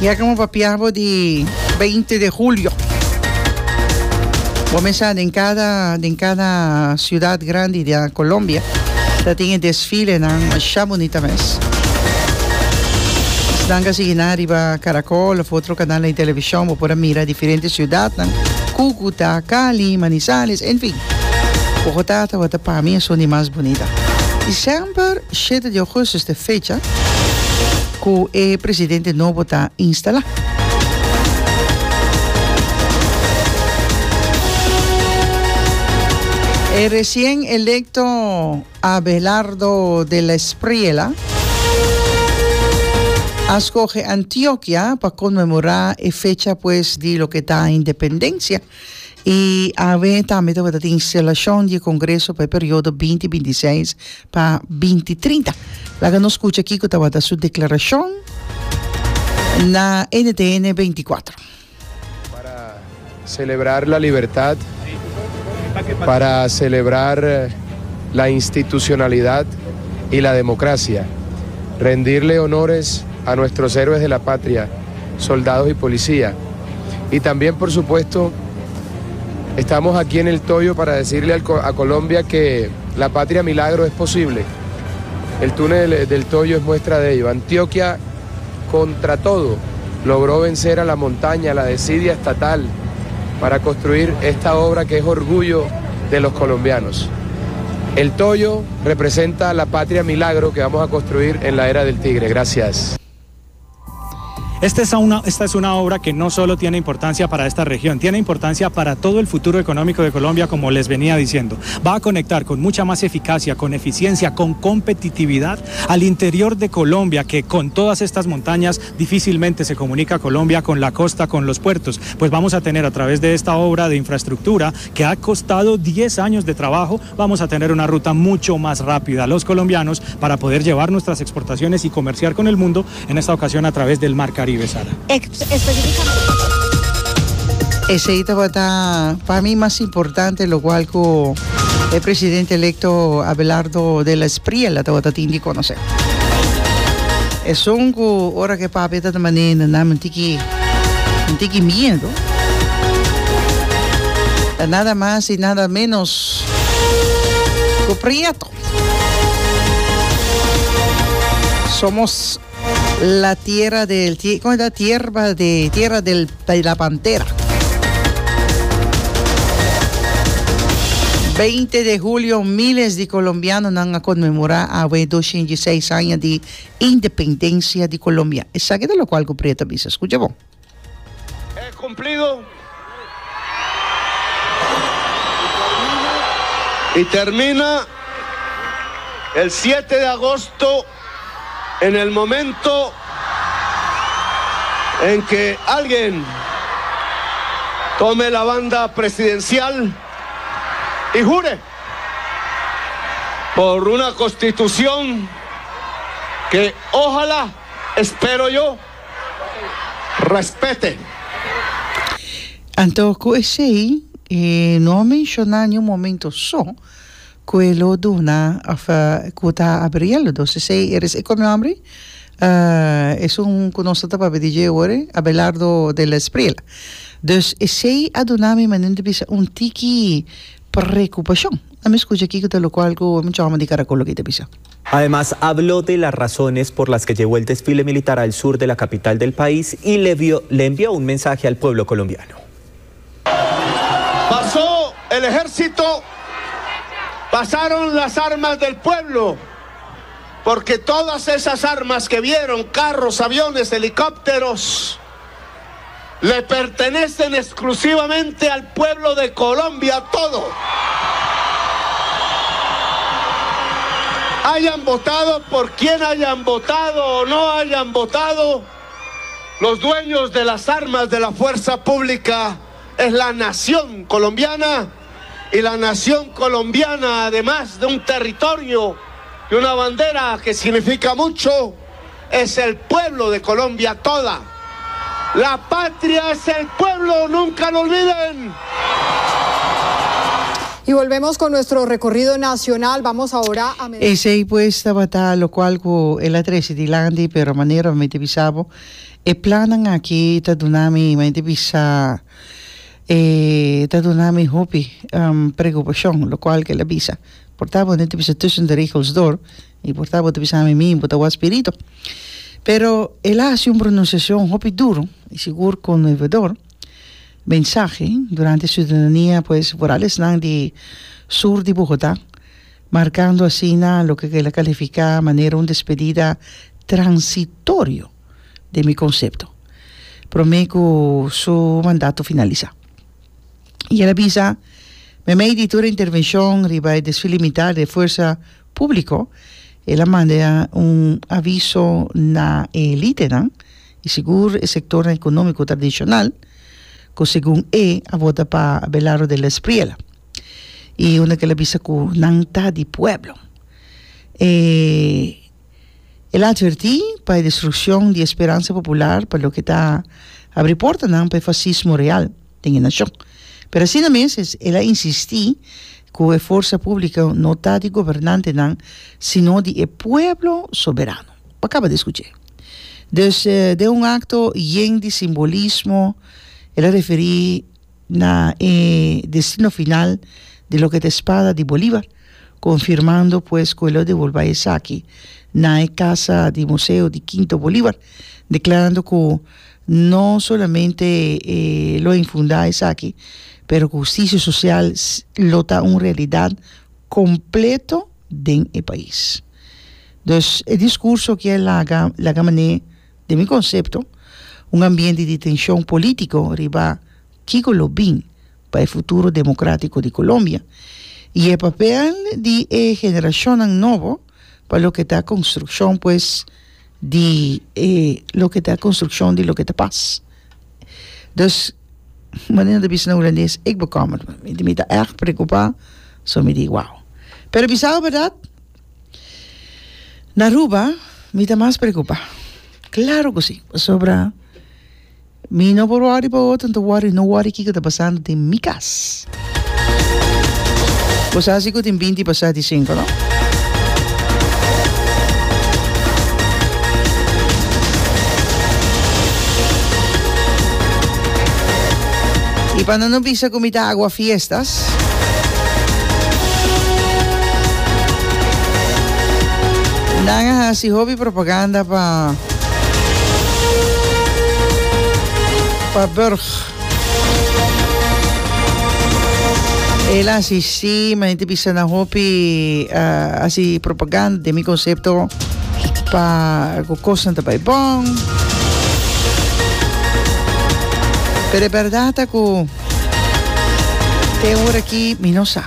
Ya como papiabo di 20 de julio. Bo mesa den cada den cada ciudad grandi di Colombia ta tin e desfilenan masha bunita mes. Esnan ka sigui nan riba Caracol of otro canalnan di television bo por a mira diferente ciudadnan, Cucuta, Cali, Manizales, en fin. Bogotá tabata pa mi esun di mas bunita. Y semper shete di augustus ta e fecha cu e presidente nobo ta instala. E recien electo Abelardo de la Espriella a scoge Antioquia pa conmemora e fecha pues di loke ta independencia y awe tambe tabata tin instalacion di e congreso pa e periodo binti binti seis pa binti trinta. Laga nos scucha kico tabata su declaracion na NTN 24. Para celebrar la libertad, para celebrar la institucionalidad y la democracia, rendirle honores a nuestros héroes de la patria, soldados y policía. Y también, por supuesto, estamos aquí en el Toyo para decirle a Colombia que la patria milagro es posible. El túnel del Toyo es muestra de ello. Antioquia, contra todo, logró vencer a la montaña, a la desidia estatal, para construir esta obra que es orgullo de los colombianos. El Toyo representa la patria milagro que vamos a construir en la era del Tigre. Gracias. Esta es, una, esta es una obra que no solo tiene importancia para esta región, tiene importancia para todo el futuro económico de Colombia, como les venía diciendo. Va a conectar con mucha más eficacia, con eficiencia, con competitividad al interior de Colombia, que con todas estas montañas difícilmente se comunica Colombia con la costa, con los puertos. Pues vamos a tener a través de esta obra de infraestructura que ha costado 10 años de trabajo, vamos a tener una ruta mucho más rápida a los colombianos para poder llevar nuestras exportaciones y comerciar con el mundo, en esta ocasión a través del Mar Caribe, Sara. Esey tabata pa mi mas importante locual cu e presidente electo Abelardo de la Espriella tabata tin di conoce. Esun cu ora cu e papia ta manera nan un tiki un tiki miedo. Ta nada mas y nada menos cu Prieto. Somos la tierra del ¿cómo es la tierra de tierra del, de la pantera? 20 de julio miles di colombianonan a conmemora awe 206 aña di independencia di Colombia. Esaki ta locual cu Prieto a bisa. Scucha bon. He cumplido y termina el 7 de agosto en el momento en que alguien tome la banda presidencial y jure por una constitución que ojalá, espero yo, Respete. Anto ku esei e no a menshoná niun momento so ku e lo duna òf ku ta abriendo. Dus esei eres e komo nomber esun ku nos ta papia di dje awor Abelardo de la Espriella. Dus esei a duna mi manera di bisa un tiki preokupashon. A mi skucha kiko ta lokual ku e mucha hòmber di Caracol loke ta bisa. Además, habló de las razones por las que llevó el desfile militar al sur de la capital del país y le, vio, le envió un mensaje al pueblo colombiano. Pasó el ejército, pasaron las armas del pueblo, porque todas esas armas que vieron, carros, aviones, helicópteros, le pertenecen exclusivamente al pueblo de Colombia todo. Hayan votado por quien hayan votado o no hayan votado, los dueños de las armas de la fuerza pública es la nación colombiana y la nación colombiana, además de un territorio y una bandera que significa mucho, es el pueblo de Colombia toda. La patria es el pueblo, nunca lo olviden. Y volvemos con nuestro recorrido nacional, vamos ahora a. Esey pues tabata locual cu el a trece dilanti, pero manera mi ta bisa bo, e plannan aki ta duna mi, mi ta bisa, e ta duna mi hopi preocupacion locual cu el a bisa. Por ta bo no ta bisa tussen de regels door y por ta bo ta bisa mi mi bo ta wak spirito. Pero el a haci un pronunciacion hopi duro y sigur conmovedor. Mensahe durante ciudadania pues vooral esnan di sur di Bogotá, marcando asina loke el a califica manera un despedida transitorio den mi concepto, prome cu su mandato finalisa. Y el a bisa, Memey di tur e intervencion riba e desfile militar di e fuerza publico, el a manda un aviso na e elitenan, i sigur e sektornan ekonómiko tradishonal ku segun e a vota pa Abelardo de la Espriella i unda ku el a bisa ku nan ta di pueblo. E el a atvertí pa e destrukshon di e speransa popular pa loke ta abri portanan pa e fasismo real den e nashon. Pero asina mes el a insistí ku e forsa públiko no ta di gobernantenan sino di e pueblo soberano. Bo a kaba di skuch'é. Dus den un akto yen di simbolismo el a referí na e destino final di loke ta e spada di Bolívar, konfirmando pues ku e lo devolbá esaki na e kasa di museo di Quinto Bolívar, deklarando ku no solamente e lo infundá esaki, pero ku hustisia sosial lo ta un realidat kompleto den e pais. Dus e discurso aki a laga laga man'é, den mi concepto, un ambiente di tension politico riba kico lo bin pa e futuro democratico di Colombia y e papel di e generacionnan nobo pa loke ta construccion pues di e loke ta construccion di loke ta pas. Dus manera ta bisa na Hulandes, ik bekommer me. Mi ta ègt preocupa, so mi di wow. Pero bisa bo berdad, na Aruba mi ta mas preocupa. Claro cu si, pasobra mi no por worry pa otro, no ta worry, no worry kico ta pasando den mi cas. Bo sa si cu tin binti pasa di cinco, no? Y pa no no bisa cu mi ta agua fiestas. Nan a haci hopi propaganda pa pa Burg. El a asistí, ma hende bisa nan hopi hasi propaganda den mi konsepto pa ku kosnan ta bai bon. Pero e bèrdat ta ku te ora aki mi no sa.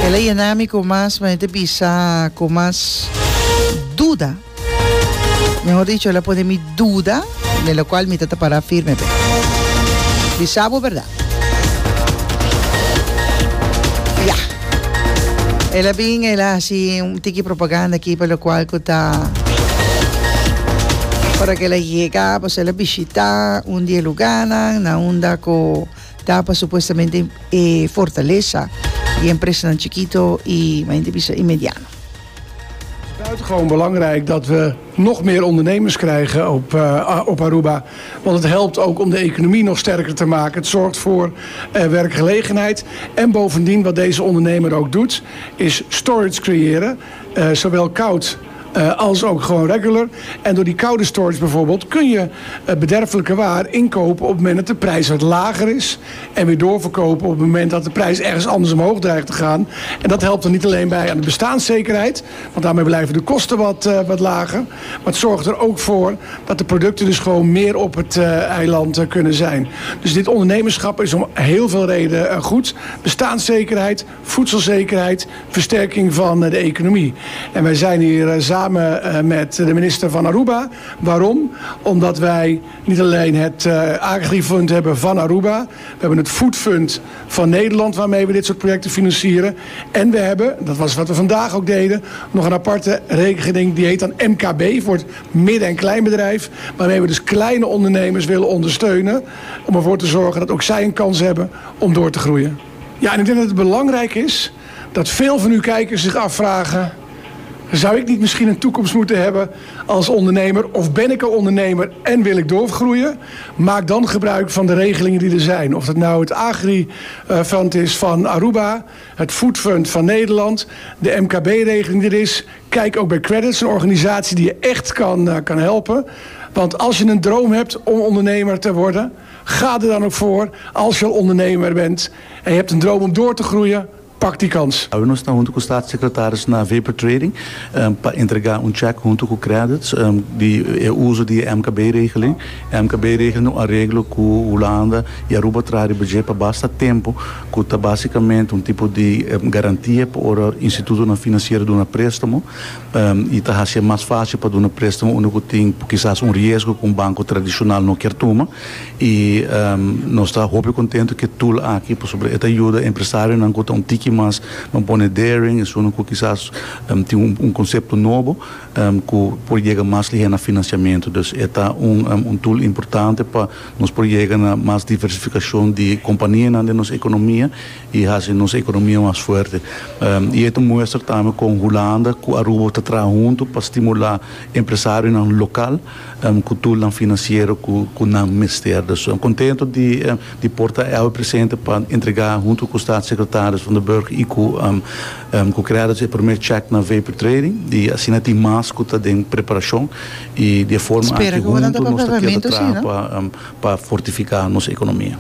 El a yena mi ku mas, ma hende bisa ku mas duda. Mehor dicho, el a pone mi duda, den locual mi ta ta para firme p'e. Bisa bo berdad. Ya. El a bin, el a haci un tiki propaganda aki pa locual cu ta ora cu el a yega, pues el a bishita un di e lugarnan na unda cu ta pa supuestamente e fortalesa di empresanan chikito y, mi a bisa, y mediano. Het is buitengewoon belangrijk dat we nog meer ondernemers krijgen op, uh, op Aruba. Want het helpt ook om de economie nog sterker te maken. Het zorgt voor uh, werkgelegenheid. En bovendien wat deze ondernemer ook doet, is storage creëren. Uh, zowel koud uh, als ook gewoon regular. En door die koude storage bijvoorbeeld kun je uh, bederfelijke waar inkopen op het moment dat de prijs wat lager is. En weer doorverkopen op het moment dat de prijs ergens anders omhoog dreigt te gaan. En dat helpt er niet alleen bij aan de bestaanszekerheid. Want daarmee blijven de kosten wat, uh, wat lager. Maar het zorgt er ook voor dat de producten dus gewoon meer op het uh, eiland uh, kunnen zijn. Dus dit ondernemerschap is om heel veel redenen goed. Bestaanszekerheid, voedselzekerheid, versterking van de economie. En wij zijn hier zaterdag. Samen met de minister van Aruba. Waarom? Omdat wij niet alleen het Agrifund hebben van Aruba. We hebben het Foodfund van Nederland waarmee we dit soort projecten financieren. En we hebben, dat was wat we vandaag ook deden, nog een aparte rekening die heet dan MKB voor het midden- en kleinbedrijf. Waarmee we dus kleine ondernemers willen ondersteunen om ervoor te zorgen dat ook zij een kans hebben om door te groeien. Ja, en ik denk dat het belangrijk is dat veel van uw kijkers zich afvragen... Zou ik niet misschien een toekomst moeten hebben als ondernemer? Of ben ik al ondernemer en wil ik doorgroeien? Maak dan gebruik van de regelingen die er zijn. Of dat nou het Agri-fund is van Aruba, het Food Fund van Nederland, de MKB-regeling die er is. Kijk ook bij Qredits, een organisatie die je echt kan, kan helpen. Want als je een droom hebt om ondernemer te worden, ga er dan ook voor. Als je al ondernemer bent en je hebt een droom om door te groeien, pak die kans. Awe nos ta hunto cu Staatssecretaris na Vapor Trading pa entrega un check hunto cu Qredits di e uzo di e MKB-regeling. E MKB-regeling ta un areglo cu Hulanda y Aruba traha riba dje pa basta tempo cu ta basicamente un tipo di garantia pa ora institutonan financiero duna prestamo y ta haci e mas facil pa duna prestamo unda cu tin kisas un riesgo cu un banco tradicional no kier tuma. Y nos ta hopi contento cu e tool aki pasobra e ta yuda empresarionan cu ta un tiki mas ban pone daring, esunnan cu kisas tin un concepto nobo cu por yega mas lihe na financiamento. Dus e ta un tool importante pa nos por yega na mas diversificacion di companianan den nos economia y haci nos economia mas fuerte. Y e ta muestra tambe con Hulanda cu Aruba ta traha hunto pa stimula empresarionan local. Ku toolnan finansiero ku ku nan mester. Dus kontento di di por ta awe presente pa entregá huntu ku Staatssecretaris Van der Burg i ku ku Qredits e promé chèk na Vapor Trading i asina tin mas ku ta den preparashon i di e forma Spera aki ku nan ta huntu nos ta keda papiamentu si, traha no? pa pa fortifiká nos ekonomia.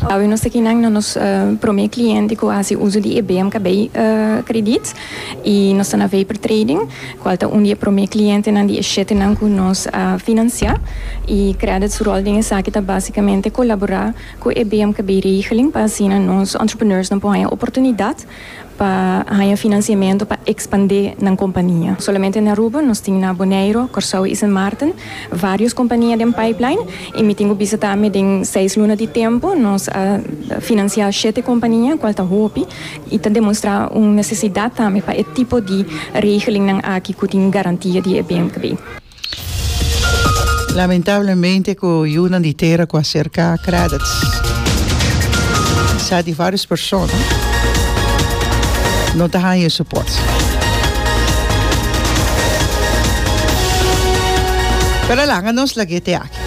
Awe nos ta kinan na nos promé kliente ku a hasi uso di e BMKB krediet i nos ta na Vapor Trading kual ta un di e promé klientenan di e shetenan ku nos a finansiá i Qredits su ròl den esaki ta basikamente kolaborá ku e BMKB regeling pa asina nos entrepreneursnan por haña oportunidat pa haña finansiamentu pa ekspandé nan kompania. Solamente na Aruba, nos tin na Boneiru, Kòrsou i Sint Maarten vários kompania den pipeline i mi tin ku bisa tambe den seis luna di tempu nos a finansiá shete kompania kual ta hopi i ta demostrá un nesesidat tambe pa e tipo di regelingnan aki ku tin garantia di e BMKB. Lamentablemente cu yunan di tera cu a cerca Qredits sa di varios persona no ta haña e support. Pero laga nos lag'e te aki.